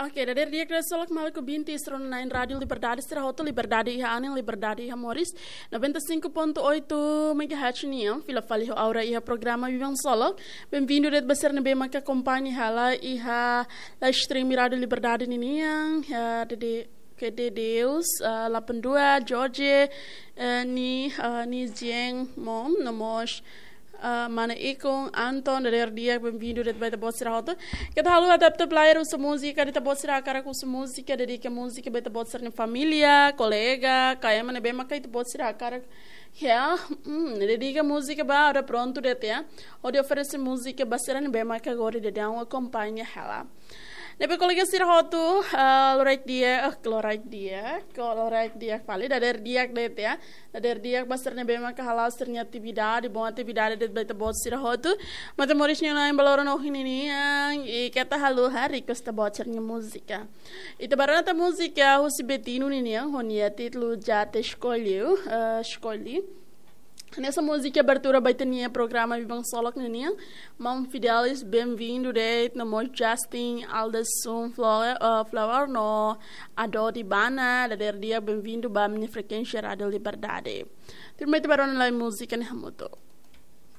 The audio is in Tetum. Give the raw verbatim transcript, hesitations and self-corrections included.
Oke, dadeer di'ak, dadeer solok maluk ouvinte sira nia Rádio Liberdade, sira hotu, liberdade iha anin, liberdade iha moris. Noventa e cinco ponto oito megahertz nian, fila fali ho Aura iha programa Vivan Solok. Bem-vindo de'it ba sira ne'ebé maka akompaña hela iha live stream Rádio Liberdade ninian, iha Dede, Kede Deus, ah, Lapan Dua, George, eh, Ni, ah, Ni Jeng Mom, no mós, ah, Mana Ikon, Anton, dadeer di'ak, bem-vindo de'it ba ita-boot sira hotu. Keta haluha atu player husi múzika, ita-boot sira hakarak husi múzika, dedika múzika ba ita-boot sira-nia família, kolega, ka ema ne'ebé maka ita-boot sira hakarak. Ya, hmm, dedika múzika ba, agora prontu de'it ya. Hodi oferese múzika ba sira ne'ebé maka agora daudaun akompaña hela. Ne'ebé kolega sira hotu, ah, loraik di'ak, ah, loraik di'ak, ko loraik di'ak fali, dadeer di'ak de'it ya. Dadeer di'ak ba sira ne'ebé maka hala'o sira-nia atividade, bom atividade de'it ba ita-boot sira hotu. Maibé moris nia nain ba loron ohin ninian, i keta haluha request ita-boot sira-nia múzika. Ita bá rona ita múzika husi Betinho ninian, ho nia títulu Já Te Escolhi, eh, Escolhi. Hanesan múzika abertura ba ita-nia programa Vivan Solok ninian. Maun Fidelis, bem-vindo de'it, no mós Justin, Alderson, Flor, eh, Flower, no Adodi Bana, dadeer di'ak, bem-vindo ba ami-nia frekuénsia Rádio Liberdade. Tuirmai ita bá rona lai múzika ne'e hamutuk.